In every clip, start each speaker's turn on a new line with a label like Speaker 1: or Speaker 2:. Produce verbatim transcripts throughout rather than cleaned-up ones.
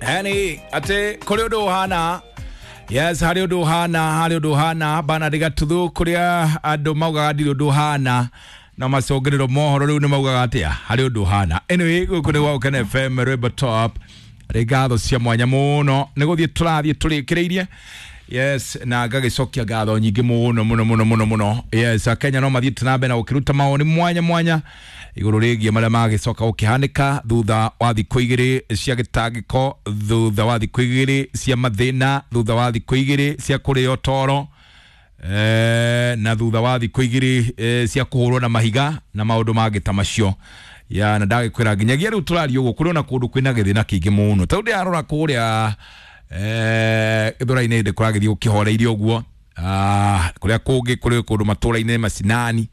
Speaker 1: Yani atĩ kũrĩ ũndũ ũhana. Yes, harĩ ũndũ ũhana, harĩ ũndũ ũhana Bernard Gatuthu, kũrĩa andũ maugaga ndirĩ ũndũ ũhana na macũngĩrĩro mohoro rĩu nĩ maugaga atĩa, harĩ ũndũ ũhana. Anyway, gũkũ nĩ gwa Gũkena F M, Rwĩmbo Top, rĩ ngatho cia mwanya mũno nĩ gũthiĩ tũrathiĩ tũrĩkĩrĩirie. Yes, na ngagĩcokia ngatho nyingĩ mũno mũno mũno mũno mũno. Yes, Akenya no mathiĩte na mbere na gũkĩruta mawoni mwanya mwanya igũrũ rĩgiĩ marĩa magĩcoka gũkĩhanĩka thutha wa thikũ igĩrĩ cia gĩtangĩko, thutha wa thikũ igĩrĩ cia mathĩna, thutha wa thikũ igĩrĩ cia kũrĩo toro, eh, na thutha wa thikũ igĩrĩ eh, cia kũhũrwo na mahiga na maũndũ mangĩ ta macio. Ya, na ndagĩkwĩra nginyagia rĩu tũraria ũguo kũrĩ ona kũndũ kwĩna gĩthĩna kĩingĩ mũno, tondũ ndĩrarora kũrĩa eh, gĩthũra-inĩ ndĩ kũragĩthiĩ gũkĩhoreirie ũguo. Ah, kũrĩa kũngĩ kũrĩ kũndũ matũra-inĩ macinani,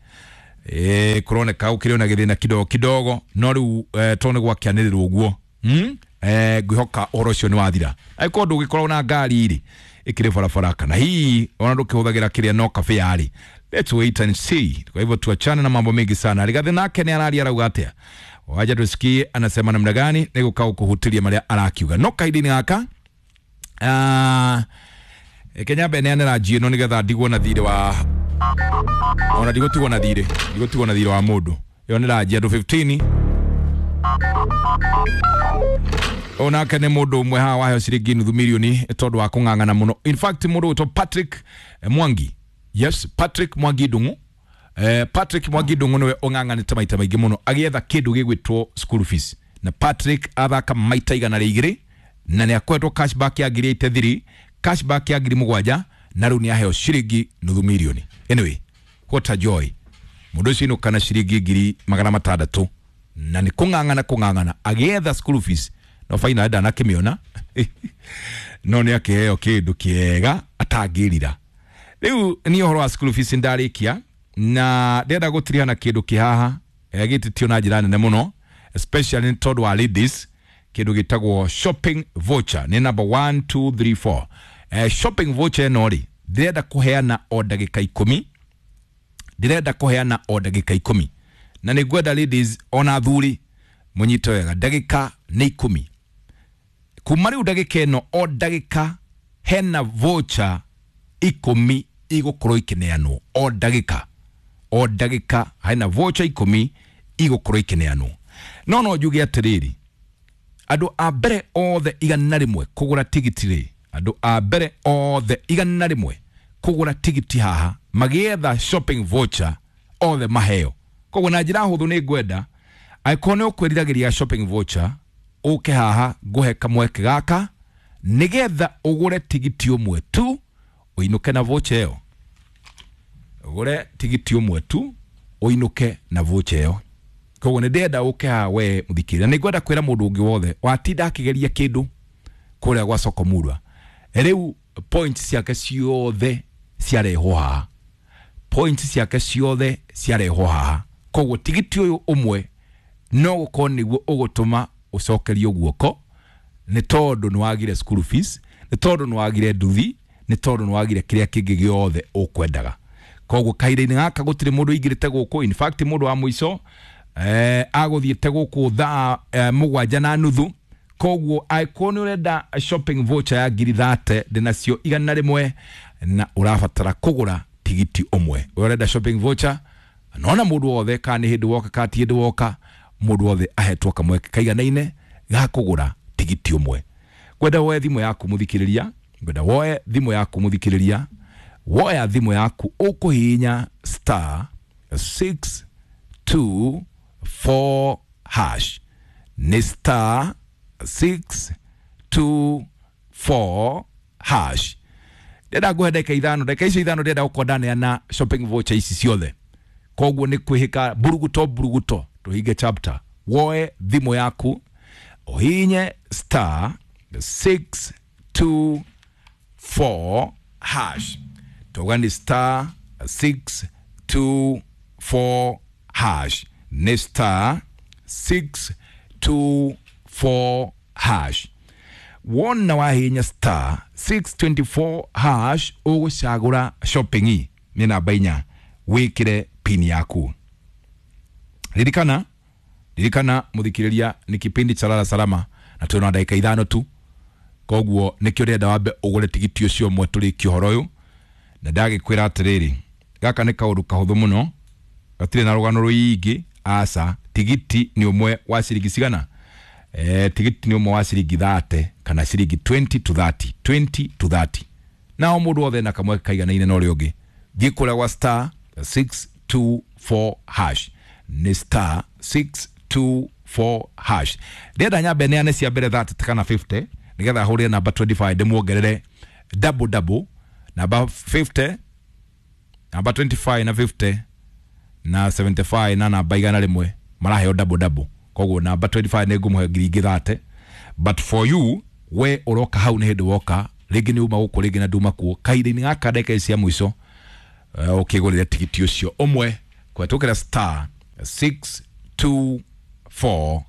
Speaker 1: eh, kũroneka gũkĩrĩ ona gĩthĩna kidogo kidogo, no rĩu eh, tondũ nĩ gwakĩanĩrĩrwo ũguo, hmm? Eh, ngwĩhoka ũhoro ũcio nĩ wathira. Angĩkorwo ndũgĩkorwo na ngari rĩ ĩkĩrĩ barabara, kana hihi ona ndũkĩhũthagĩra kĩrĩa no kabe yarĩ, let's wait and see. Kwa hivyo tuachane na mambo mengi sana. Rigathi nake nĩ araria arauga atĩa, waja tusikie anasema namna gani, nĩ gũka gũkũhutĩria marĩa arakiuga. No kahinda-inĩ gaka, ah, Kenya mbere neanĩra njĩ ĩno nĩgetha ndigwo na thirĩ wa, ona ndigũtigwo na thirĩ, ndigũtigwo na thirĩ wa mũndũ. Ĩyo nĩ ranji andũ fifteen. Onake nĩ mũndũ ũmwe haha waheo ciringi nuthu milioni tondũ wa kũng'ang'ana mũno. In fact, mũndũ wĩtwo Patrick Mwangi. Yes, Patrick Mwangi Ndung'u. Eh, Patrick Mwangi Ndung'u nĩwe ũng'ang'anĩte maita maingĩ mũno agĩetha kĩndũ gĩgwĩtwo school fees. Na Patrick athaka maita igana rĩa igĩrĩ na nĩ akoretwo cashback ya ngiri eighty three, cashback ya ngiri mũgwanja, na rĩu nĩ aheo ciringi nuthu milioni. Anyway, what a joy. Mũndũ ũcio inũka na ciringi ngiri magana matandatũ na nĩ kũng'ang'ana kũng'ang'ana agĩetha school fees, no finally ndanakĩmĩona no nĩ akĩheo kĩndũ kĩega atangĩrira. Rĩu niĩ ũhoro wa school fees ndarĩkia, na ndĩrenda gũtiriha na kĩndũ kĩ haha gĩtĩtio na njĩra nene mũno, especially nĩ tondũ wa ladies, kĩndũ gĩtagwo shopping voucher nĩ number one two three four. Eh, shopping voucher ĩno rĩ, ndĩrenda kũheana o ndagĩka ikũmi, ndĩrenda kũheana o ndagĩka ikũmi, na nĩ ngwenda ladies ona athuri mũnyite wega, ndagĩka nĩ ikũmi kuma rĩu ndagĩka ĩno, o ndagĩka hena voucher ikũmi igũkorwo ikĩneanwo, o ndagĩka, o ndagĩka hena voucher ikũmi igũkorwo ikĩneanwo. No no njuge atĩrĩrĩ, andũ a mbere othe igana rĩmwe kũgũra tigiti rĩ, andũ a mbere othe igana rĩmwe kũgũra tigiti haha magĩetha shopping voucher othe maheo. Koguo na njĩra hũthũ nĩ ngwenda angĩkorwo nĩ ũkwĩriragĩria shopping voucher, ũke haha ngũhe kamweke gaka nĩgetha ũgũre tigiti ũmwe tu ũinũke na voucher ĩyo. Ũgũre tigiti ũmwe tu ũinũke na voucher ĩyo. Koguo nĩ ndĩrenda ũke haha we mũthikĩrĩria, nĩ ngwenda kwĩra mũndũ ũngĩ wothe watinda akĩgeria kĩndũ kũrĩa gwa Soko Murwa, rĩu points ciake ciothe ciarehwo haha, points ciake ciothe ciarehwo haha. Koguo tigiti ũyũ ũmwe no gũkorwo nĩguo ũgũtũma ũcokerio guoko, nĩ tondũ nĩ wagire school fees, nĩ tondũ nĩ wagire nduthi, nĩ tondũ nĩ wagire kĩrĩa kĩngĩ gĩothe ũkwendaga. Koguo kahinda-inĩ gaka gũtirĩ mũndũ ũingĩrĩte gũkũ. In fact, mũndũ wa mũico eh, agũthiĩte gũkũ thaa eh, mũgwanja na nuthu. Koguo angĩkorwo nĩ ũrenda shopping voucher ya ngiri thate, ndĩnacio igana rĩmwe na ũrabatara kũgũra tigiti ũmwe. Ũrenda shopping voucher, nona mũndũ wothe, kana nĩ hĩndĩ woka kana ti hĩndĩ woka, mũndũ wothe ahetwo kamweke kaiganaine ga kũgũra tigiti ũmwe. Ngwenda woe thimũ yaku mũthikĩrĩria, ngwenda woe thimũ yaku mũthikĩrĩria, woya thimũ yaku ũkũhihinya star six two four hash, nĩ star six two four hash. Ndĩrenda ngũhe ndagĩka ithano, ndagĩka icio ithano ndĩrenda gũkorwo ndaneana shopping voucher ici ciothe. Koguo nĩ kwĩhĩka buruguto buruguto, tũhinge chapter. Woe thimũ yaku ũhihinye star six two four hash, tauga nĩ star six two four hash, nĩ star six two four hash. Wona wahihinya star six twenty four hash, ũgũcagũra shopping nĩ namba inya, wĩkĩre pin yaku. Ririkana, ririkana mũthikĩrĩria, nĩ kipindi cha Lala Salama na twĩna ndagĩka ithano tu. Koguo nikio ndĩrenda wambe ũgũre tigiti ũcio ũmwe tũrĩkie ũhoro ũyũ. Na ndagĩkwĩra atĩrĩrĩ, gaka nĩ kaũndũ kahũthũ mũno, gatirĩ na rũgano rũingĩ aca. Tigiti nĩ ũmwe wa ciringi cigana? Eh, tigiti nĩ ũmwe wa ciringi thate kana ciringi twenty to thirty, twenty to thirty. Nao mũndũ wothe na kamwe kaiganaine na ũrĩa ũngĩ. Thiĩ kũrĩa gwa star six two four hash, nĩ star six two four hash. Ndĩrenda nyambe neane cia mbere thirty kana fifty nĩgetha hũrĩre namba twenty-five ndĩmuongerere double double, namba fifty, namba twenty-five na fifty na seventy-five na namba igana rĩmwe maraheo double double. Koguo namba twenty-five nĩ ngũmũhe ngiri ingĩ thate, but for you we ũroka hau nĩ hĩndĩ woka rĩngĩ nĩ uma gũkũ rĩngĩ na nduma kuo kahinda-inĩ gaka ndagĩka ici cia mũico, uh, ũkĩgũrĩre tigiti ũcio ũmwe kũhetũkĩra star six two four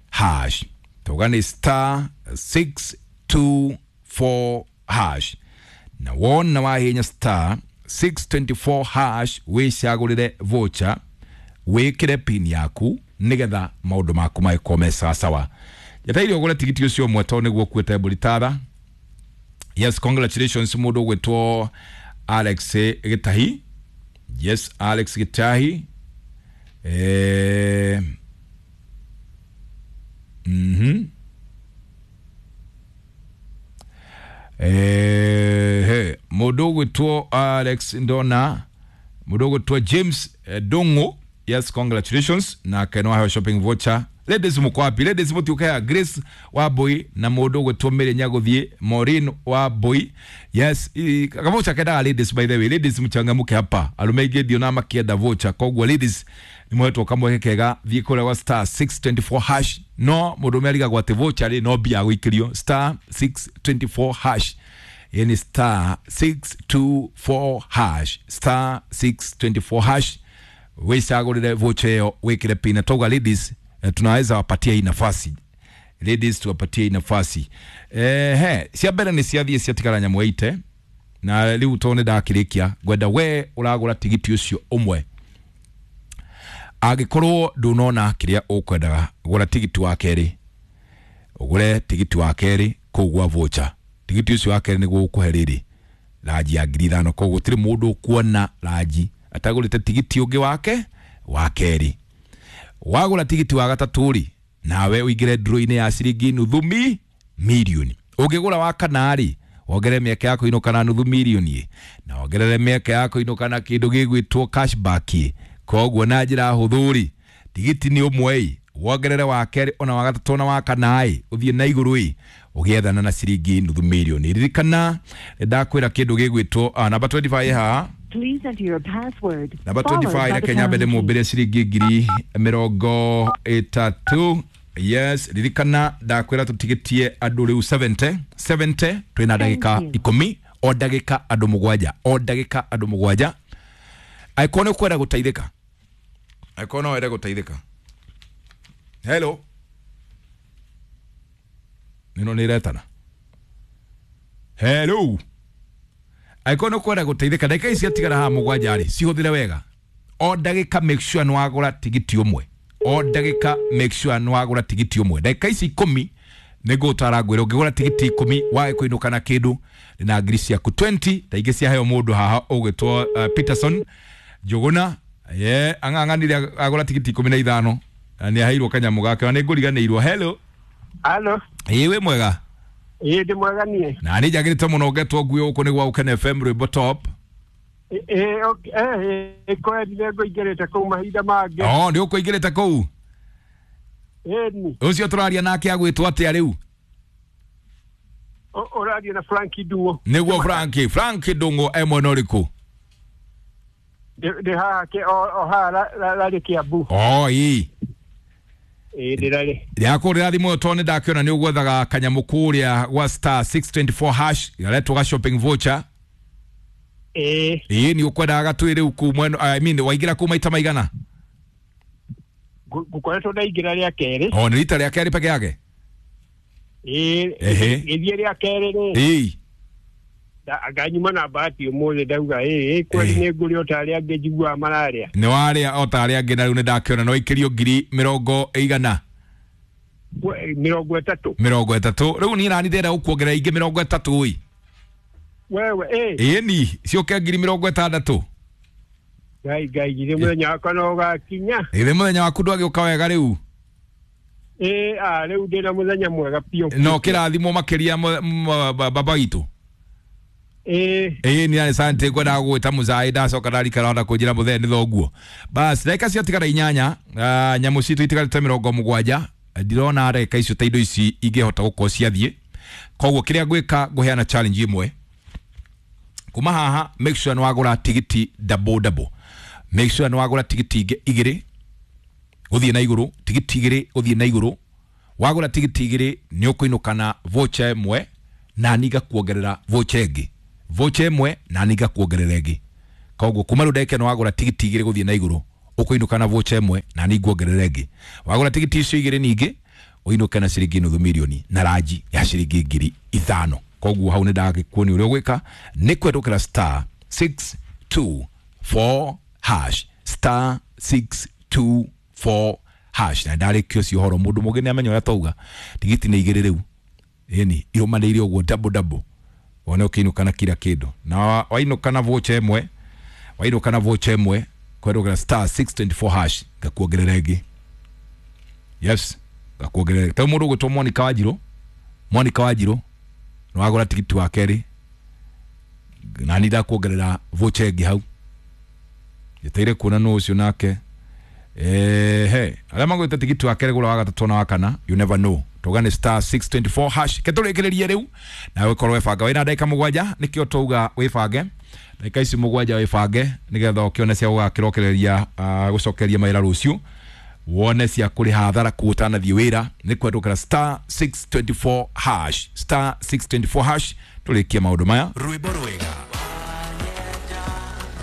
Speaker 1: hash. Tuga nĩ star six two four hash, na wona wahinya star six twenty-four hash wĩcagũrĩre voucher wĩkĩre pin yaku nĩgetha maũndũ maku magĩkorwo me sawasawa. Njetereire ũgũre tigiti ũcio ũmwe tondũ nĩguo ũkuĩte mbũri tara. Yes, congratulations mũndũ ũgwĩtwo Alex Gitahi. Yes, Alex Gitahi. Eh, mhm. Eh, he, mũndũ ũgwĩtwo Alex ndona, mũndũ ũgwĩtwo James eh, Dongo. Yes, congratulations nake no aheo shopping voucher. Ladies muko wapi? Ladies mutiuke Grace wa Boy na mũndũ ũgwĩtwo Mary Nyaguthie, Maureen wa Boy. Yes, kavoucher kendaga ladies, by the way. Ladies mchangamuke hapa. Arume aingĩ ndiona makĩenda voucher, koguo ladies nĩ mũhetwo kamweke kega. Thiĩ kũrĩa gwa star six twenty-four hash. No mũndũ ũmwe arigagwo atĩ voucher rĩ no mbia gũikĩrio star six twenty-four hash. Yani star six two four hash, star six twenty-four hash wicagũrĩre voucher ĩyo wĩkĩre pin. Na tauga ladies, eh, tunaweza wapatia hii nafasi. Ladies tuwapatie hii nafasi. Eh, he, cia mbere nĩ ciathiĩ ciatigara nyamũ ite na rĩu tondũ nĩ ndakĩrĩkia ngwenda we ũragũra tigiti ũcio ũmwe. Angĩkorwo ndũnona kĩrĩa ũkwendaga, gũra tigiti wa kerĩ, ũgũre tigiti wa kerĩ kũu gwa voucher. Tigiti ũcio wa kerĩ nĩguo ũkũhe rĩrĩ ranji ya ngiri ithano, koguo gũtirĩ mũndũ ũkuona ranji atagũrĩte tigiti ũngĩ wake wa kerĩ. Wagũra tigiti wa gatatũ rĩ, nawe ũingĩre draw-inĩ ya ciringi nuthu mi milioni. Ũngĩgũra wa kana rĩ, wongerere mĩeke ya kũinũka na nuthu milioni, na wongerere mĩeke ya kũinũka na kĩndũ gĩgwĩtwo cashback. Koguo na njĩra hũthũ rĩ, tigiti nĩ ũmwe ĩ, wongerere wa kerĩ ona wa gatatũ ona wa kana ĩ, ũthiĩ na igũrũ ĩ, ũgĩethana na ciringi nuthu milioni. Ririkana ndakwĩra kĩndũ gĩgwĩtwo ah, namba twenty-five haha.
Speaker 2: Please enter your password.
Speaker 1: Namba
Speaker 2: followed
Speaker 1: twenty-five
Speaker 2: by the
Speaker 1: reke nyambe
Speaker 2: pound key.
Speaker 1: ndĩmũmbĩre ciringi ngiri mĩrongo ĩtatũ. Yes, ririkana ndakwĩra tũtigĩtie andũ rĩu seventy, seventy twĩna ndagĩka
Speaker 2: Thank you.
Speaker 1: ikũmi, o ndagĩka andũ mũgwanja, o ndagĩka andũ mũgwanja. Angĩkorwo nĩ ũkwenda gũteithĩka, angĩkorwo no wende gũteithĩka. Hello, nĩno nĩ ĩretana. Hello, angĩkorwo nĩ ũkwenda gũteithĩka, ndagĩka ici ciatigara haha mũgwanja rĩ, cihũthĩre wega. O ndagĩka make sure nĩ wagũra tigiti ũmwe. O ndagĩka make sure nĩ wagũra tigiti ũmwe. Ndagĩka ici ikũmi nĩ ngũgũtara ngwĩre ũngĩgũra tigiti ikũmi wage kũinũka na kĩndũ na ngiri ciaku twenty ta ingĩ ciaheo mũndũ haha ũgwĩtwo uh, Peterson Njũgũna. Ye ang'ang'anire agũra tigiti ikũmi na ithano na nĩ aheirwo kanyamũ gake na nĩ ngũriganĩirwo. Hello.
Speaker 3: Halo,
Speaker 1: Ĩĩ wĩ mwega?
Speaker 3: ĩĩ ndĩ mwega niĩ.
Speaker 1: Na nĩ njagĩrĩte mũno ngetwo nguo gũkũ nĩ gwa Ũkene F M rwĩmbo top.
Speaker 3: Ĩĩ okay, eh kweli nĩ ngũingĩrĩte kũu mahinda mangĩ.
Speaker 1: Oh, nĩ ũkũingĩrĩte kũu.
Speaker 3: Ĩni,
Speaker 1: Ũcio tũraria nake agwĩtwo atĩa rĩu?
Speaker 3: ũraria na Frank Ndung'u.
Speaker 1: Nĩguo Frank, Frank Ndung'u e mwena ũrĩkũ?
Speaker 3: Ndĩ ndĩ haha kĩ- o o haha ra- ra- rarĩ Kiambu.
Speaker 1: Oh, ĩĩ.
Speaker 3: Ĩĩ ndĩrarĩ.
Speaker 1: Ndĩrakũrĩra thimũ ĩyo tondũ nĩ ndakĩona nĩ ũgwethaga kanyamũ kũrĩa gwa star six twenty-four hash garetwo ga shopping voucher.
Speaker 3: Ĩĩ
Speaker 1: Ĩĩ nĩ ũkwendaga gatwĩ rĩu kuu mwena, I mean waingĩra kuu maita maigana?
Speaker 3: ngũ- ngũkoretwo ndaingĩra rĩa kerĩ.
Speaker 1: Oh, nĩ rita rĩa kerĩ peke yake?
Speaker 3: Ĩĩ
Speaker 1: Ehe.
Speaker 3: gĩthiĩ rĩa kerĩ rĩ.
Speaker 1: Ĩĩ.
Speaker 3: Nganyuma na bahati ũmũthĩ ndauga ĩĩ kweli nĩ ngũrĩa o ta arĩa angĩ njiguaga mararĩa.
Speaker 1: Nĩ warĩa o ta arĩa angĩ na rĩu nĩ ndakĩona no ikĩrio ngiri mĩrongo ĩigana.
Speaker 3: Mĩrongo ĩtatũ.
Speaker 1: Mĩrongo ĩtatũ. Rĩu niĩ nani ndĩrenda gũkuongerera ingĩ mĩrongo ĩtatũ ĩ.
Speaker 3: Wewe ĩ.
Speaker 1: Ĩni ciũke ngiri mĩrongo ĩtandatũ.
Speaker 3: Ngai Ngai githĩ mũthenya wakwa no ũgakinya.
Speaker 1: Githĩ mũthenya waku ndwagĩũka wega rĩu?
Speaker 3: Ĩ a rĩu ndĩna mũthenya mwega biũ.
Speaker 1: No kĩrathimwo makĩria baba witũ.
Speaker 3: Ĩ.
Speaker 1: Ĩ ni asante ngwendaga gũgwĩta mũcai ndacoka ndarikara ona kũnjĩra mũthee nĩ thoguo. Bas ndagĩka ciatigara inyanya, nyamũ citũ itigarĩte mĩrongo mũgwanja. Ndirona ndagĩka icio ta indo ici ingĩhota gũkorwo ciathiĩ. Koguo kĩrĩa ngwĩka ngũheana challenge ĩmwe. Kuma haha make sure nĩ wagũra tigiti double double. Make sure nĩ wagũra tigiti ingĩ igĩrĩ gũthiĩ na igũrũ, tigiti igĩrĩ gũthiĩ na igũrũ. Wagũra tigiti igĩrĩ nĩ ũkũinũka na voucher ĩmwe na niĩ ngakuongerera voucher ĩngĩ. Voucher ĩmwe na niĩ ngakuongerera ĩngĩ. Koguo kuma rĩu ndagĩka ĩno wagũra tigiti igĩrĩ gũthiĩ na igũrũ ũkũinũka na voucher ĩmwe na niĩ nguongerera ĩngĩ. Wagũra tigiti icio igĩrĩ ningĩ ũinũke na ciringi nuthu mirioni na ranji ya ciringi ngiri ithano. Koguo hau nĩ ndagĩkuonia ũrĩa ũgwĩka nĩ kwendũkĩra star six two four hash, star six two four hash. Na ndarĩkia ũcio ũhoro mũndũ mũgĩ nĩ amenya ũrĩa twauga. Tigiti nĩ igĩrĩ rĩu. Ĩni irũmanĩire ũguo double double. Wone ũkĩinũka na kila kĩndũ. Na wainũka na voucher ĩmwe, wainũka na voucher ĩmwe kwendũkĩra star six twenty four hash ngakuongerera ĩngĩ. Yes, ngakuongerera. Ta mũndũ ũgwĩtwo Monica Wanjirũ, Monica Wanjirũ nĩ wagũra tigiti wa kerĩ na nĩ ndakuongerera voucher ĩngĩ hau. Njeteire kuona nũ ũcio nake. Ehe, arĩa magũrĩte tigiti wa kerĩ gũra wa gatatũ na wa kana, you never know. Tũgane star six twenty four hash. Ke tũrĩkĩrĩrie rĩu nawe ũkorwo wĩbanga. Wĩna ndagĩka mũgwanja nĩkĩo twauga wĩbange. Ndagĩka ici mũgwanja wĩbange nĩgetha ũkĩone cia gũgakĩrokereria gũcokeria mawĩra rũciũ. Wone cia kũrĩha hathara kũu ũtanathiĩ wĩra nĩ kwendũkĩra star six twenty four hash, star six twenty four hash. Tũrĩkie maũndũ maya.
Speaker 4: Rwĩmbo rwega,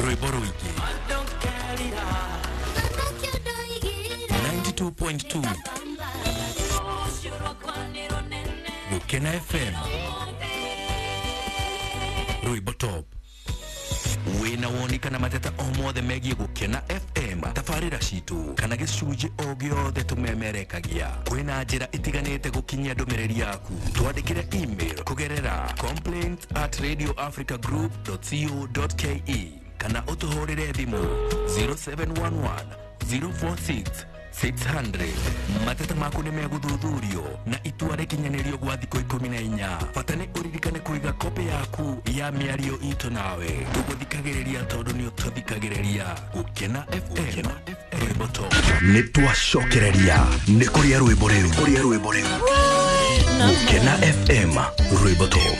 Speaker 4: rwĩmbo rũingĩ, ninety two point two Gukena F M, Rwĩmbo Top. Wĩna woni kana mateta o mothe megiĩ Gukena F M, tabarĩra citũ kana gĩcunjĩ o gĩothe tũmemerekagia. Kwĩna njĩra itiganĩte gũkinyia ndũmĩrĩri yaku. Twandĩkĩre email kũgerera complaint at radio africa group dot co dot ke kana ũtũhũrĩre thimũ zero seven one one zero four six six hundred. Mateta maku nĩ megũthuthurio na itua rĩkinyanĩrio gwa thikũ ikũmi na inya. Bata nĩ ũririkane kũiga kopĩ yaku ya mĩario itũ nawe. Tũgũthikagĩrĩria tondũ nĩ ũtũthikagĩrĩria. Gukena F M, Rwĩmbo Top.
Speaker 5: Nĩ twacokereria nĩ kũrĩa rwĩmbo rĩu, kũrĩa rwĩmbo rĩu. Gukena F M, Rwĩmbo Top.